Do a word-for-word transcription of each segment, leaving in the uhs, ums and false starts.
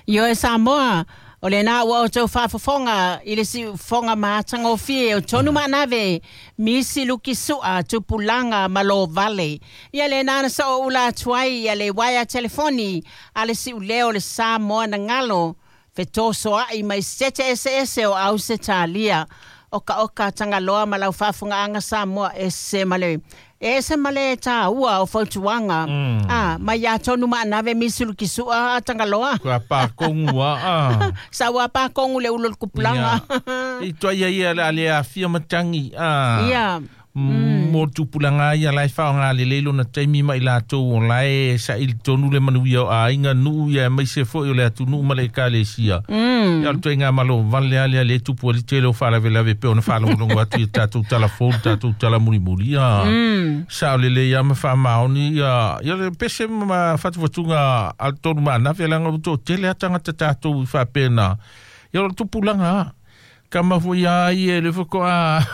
Ioe Samoa, o lena ua outou faafofoga i le siufofoga matagofie o tonu maanave misi luki sua tupulaga ma lo vale. Ia lena na so'oula atu ai ia le uaea telefoni a le si'uleo o le Samoa na galo fetosoa'i mai sete eseese o Ausetalia. Okaoka Tagaloa ma lau faafogaaga Samoa ese ma le ese ma le tāua o fautuaga Mm. a mai iā tonu maanave misi luki sua a Tagaloa. Kua pākongu a a. Sa ua pākongu le ulo le kupulaga. I toa ia ia le ale afia matangi a. Ia. Mo tupulaga ia lai whaonga le leilo na taimi mai latou o lai sa ili tonu le manuia o aiga nuu ia mai se foi o le atunuu ma le ekalesia. Mm. Ia o le toaiga malo vale ale ale tupu ali tele o faalavelave pe ona faalogologo atu i tatou tala fou tatou tala mulimuli ia. Mm. Sa o lelei ia ma faamaoni ia ia le pese ma fatufatuga a le tolu maanafe laga ua toatele a tagata tatou i faapena. Ia o le tupulaga kama foi a ia le fakoa.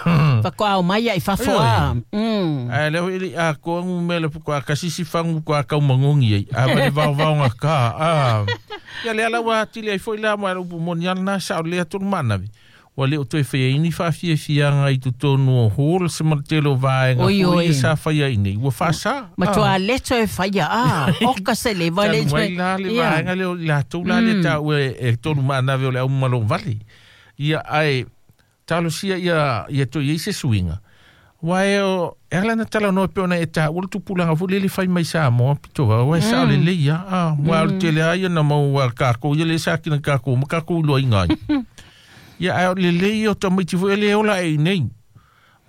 Fakoa o mai ai fafo a. Mm. Ai le hoi a ko ngu me le fakoa kasisi fangu ko ka mangongi ai. A va va va nga ka. A. Ia le ala wa tili ai foi la ma lu moni ana sa le atu mana. Wa le o toe fai ni fa fia fia nga i totonu o hol se martelo vaenga Oi, foi oi. sa fai ai nei. Ua fa sa. Ma toa leto e whaia a. Oka se le va le. Tanu ai la le Ia. vaenga le o la tau la le tau e e tolu maanave o le au malo vale. Ia ai talosia ia ia to ia se suinga. Wai o e ala na tala no pe ona e ta ulu tupulanga fu lele fai mai sa mo pito wa wai sa le le ia a wa o tele ai na mo wa ka ko ia le sa ki na ka ko ma ka ko lo inga. Ia ai o le le ia o tamaiti fu ele ola e nei.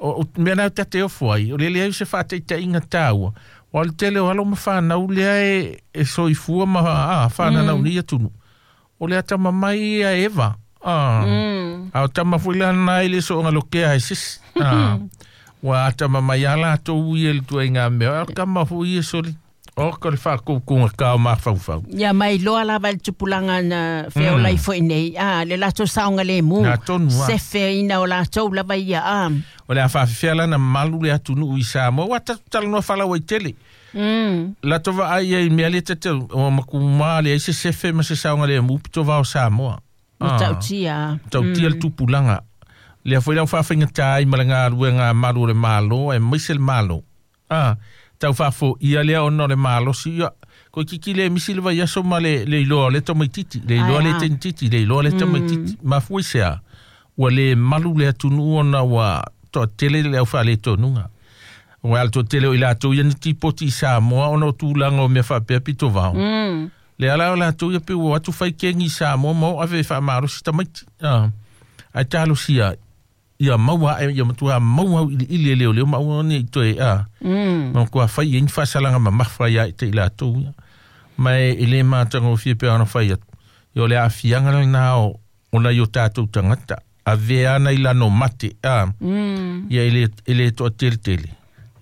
O o mea na tate o fuai o le le ai se whāteita inga tāua. Wa le tele o alo ma whanau lea e, e soifua ma a whanau mm. ni atunu. O le atama mai ia Eva. Ah. Mm. A o tama foi la nai le so ngalo ke ai sis. Ah. Wa atama mai ala to ui le tu inga me. O kama foi e soli. O ko le fa ko ko ka o ma fau fau. Ia mai loa lava le tupulaga na feolai foi nei. A le latou saoga lemu. Na tonu a. Sefe ina o latou lava ia a. O le a whaafifea lana malu le atunuu i Samoa. Wa tatu talanoa whalau ai tele. Mm. La tova ai ai mea le tete o makumā le ai se sefe ma se saoga le mu pito vao Samoa. Ma tautia. Tautia le tupulaga. Lea foi lau faafaigata ai ma le galuega malu o le malo e maise le malo. Ah, tau faafoia lea ona o le malosi ia. Ko kiki le misi le vaiaso ma le le iloa o le tamaititi, le iloa le Ai, ah. teinititi, le iloa le tamaititi. Mafua i se a, ua le malu le atunuu ona ua toatele le aufaaletonuga. Ua ale toatele o i latou ia ni tipoti i Samoa ona o tulaga o mea faapea pito vao. Mm. Le ala o latou ia pe ua atu fai kegi i Samoa ma o ave e faamalosi tamaiti. Ah. Ai talosia ia maua ae ia matua maua au iliili e leoleo ma aua nei toe a. Mm. Ma kua fai e ni faasalaga mamafa ia i te i latou ia. Ma e e le matagofie pe ona fai atu. Ia o le aafiaga lenā o o nai o tatou tagata. Avea ana i lano mate a. Mm. Ia e le, e le toateletele.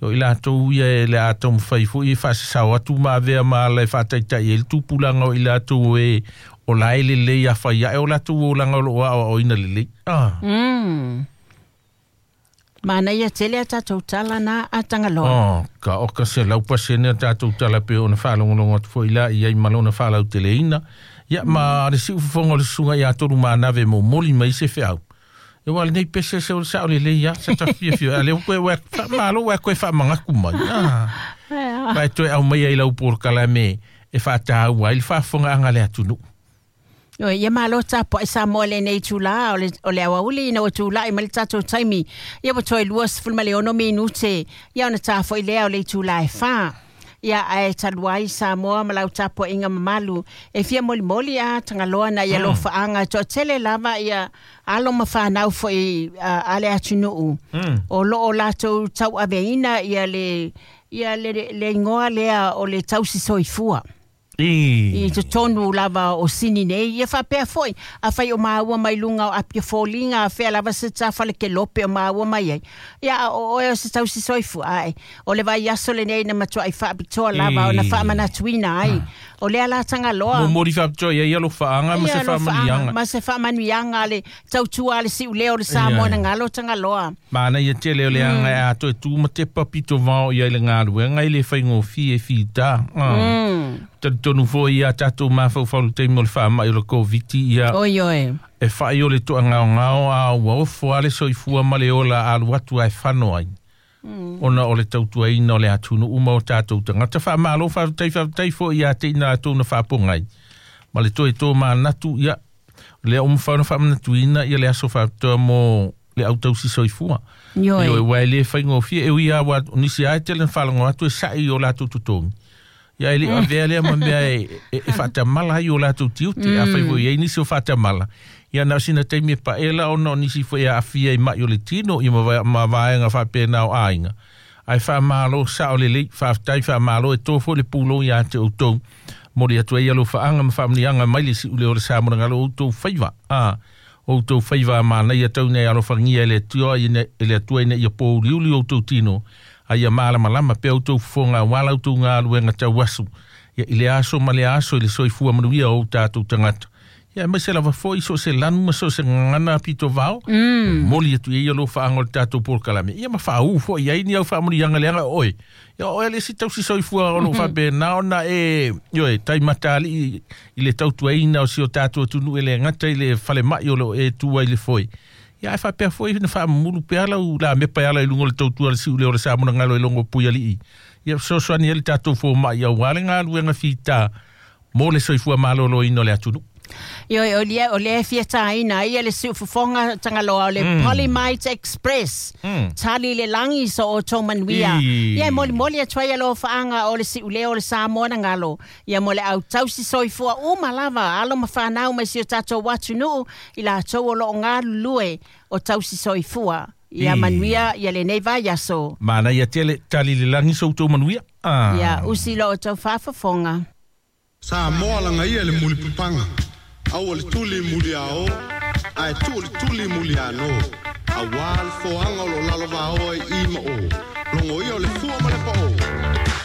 O i latou ia e le a taumafai foi e faasasao atu ma avea ma ala e faataitai ai le tupulaga o i latou e o la e lelei afai ae o latou olaga o loo aoaoina lelei. Ah. Mm. Mana ia tele a tatou tala na a Tagaloa. Oh, ka oka se lau pasene a tatou tala pe ona faalogologo atu foi la i ai ma lona faalauteleina. Ia ma le siufofoga o le susuga ia tolu manave momoli mai se feau. E wa lenei pese se o le sao lelei ia, sa tafiafia. A lea koe ua faamalo ua koe faamagaku mai. Ah. Vai toe au mai ai lau polokalame e faataua ai le faafofogaaga le atunuu. Oi, ia malo tapo ai Samoa lenei tula o le, o le awauli ina ua tula'i ma le tatou taimi. Ia ua toe lua sefulu ma le ono minute. Ia ona tafo'i lea o le itulā e fā. Ia ae talu ai Samoa ma lau tapuaʻiga mamalu. E fia molimoli a Tagaloa na ia lofaaga. Toatele lava ia alo ma whanau foi uh, a le atunuu. Mm. O loo latou tauaveina ia le, ia le, le ingoa lea o le tausi soifua. I. I totonu lava o sini nei, ia faapea foi, a fai o maua mai luga o apia foliga, a fea lava se tafa le kelope o maua mai ai. Ia o oe o se tausi soifua ai. O le vaiaso lenei na matuai faapitoa lava o na E. faamanatuina ai. O le ala Tagaloa. Momoli faapitoa i ai alofaaga ma se faamanuiaga. Ma se faamanuiaga le tautua le siuleo o le Samoa na galo Tagaloa. Manaia tele o le aga e atoa e tu ma tepa pito vao i ai le galuega i le faigofie e fitā. Talitonu foi ia tatou mafaufau i le taimi o le faama'i o le Koviti ia. Oi oi. E fa'i o le to'agaogao a ua ofo a le soifua ma le ola alu atu ae fano ai. Ona o le tautuaina o le atunuu ma o tatou tagata faamalo faafetai faafetai foi ia te ina latou na faapogai. Ma le toe tō manatu ia lea ua mafai ona faamanatuina ia le aso faapitoa mo le autausi soifua. Ioe. Ioe, ua e le faigofie e ui lava o nisi lava e tele na faalogo atu e sa'i i o latou totogi. Ia e le o avea lea ma mea e, e, e faatamala ai o latou tiute. Afai foi i ai nisi o faatamala. Ia na o sina taimi e paela ona o nisi foi e aafia i ma'i o le tino ia ma, ma vaega faapena o aiga. Ae faamalo sa'o lelei, faafetai faamalo e tō foi le pulou ia te outou. Moli atu ai alofaaga ma faamanuiaga mai le si'uleo o le Samoa na galo outou faiva. A outou faiva manaia tau nei alofagia e le Atua e le Atua ina ia pouliuli outou tino. Ai ia malamalama pea outou fofoga auā la outou galuega tauasu. Ia i le aso ma le aso i le soifua manuia o tatou tagata. Ia aemaise lava foi so o se lanu ma so o se gagana pito vao. Momoli atu i ai alofaaga o le tatou polokalame. Ia ma faaū foi i ai ni au faamanuiaga leaga o oe. Ia o oe le isi tausi soifua o loo faapena ona e ioe taimatali'i i le tautuaina o si o tatou atunuu e le gata i le falema'i o loo e tu ai le foe. Ia ae faapea foi na faamamulu pea lau lamepa e ala i luga o le tautua le siuleo o le Samoa na galo e logo pui ali'i. Ia fesoasoani ai le tatou foma'i auā le galuega fitā mo le soifua malōlōina o le atunuu. Ioe, o lea, o lea e fia tāina ai ia le siufofoga Tagaloa o le mm. Polymite Express. Mm. Tali le lagi so o tō manuia. I. Ia e molimoli atu ai alofaaga o le siuleo o le Samoa na galo. Ia mo le autausi soifua uma lava alo ma whanau mai si o tātou atunuu i latou o loo galulue o tausi soifua. Ia I. manuia ia lenei vaiaso. Manaia tele tali le lagi so outou manuia. Ah. Ia usi lo o tau faafofoga. Samoa lagaia le mulipapaga aua le tuli muliaō ae tuu le tuli muliānō auā le foaga o loo lalovaoa i i ma o.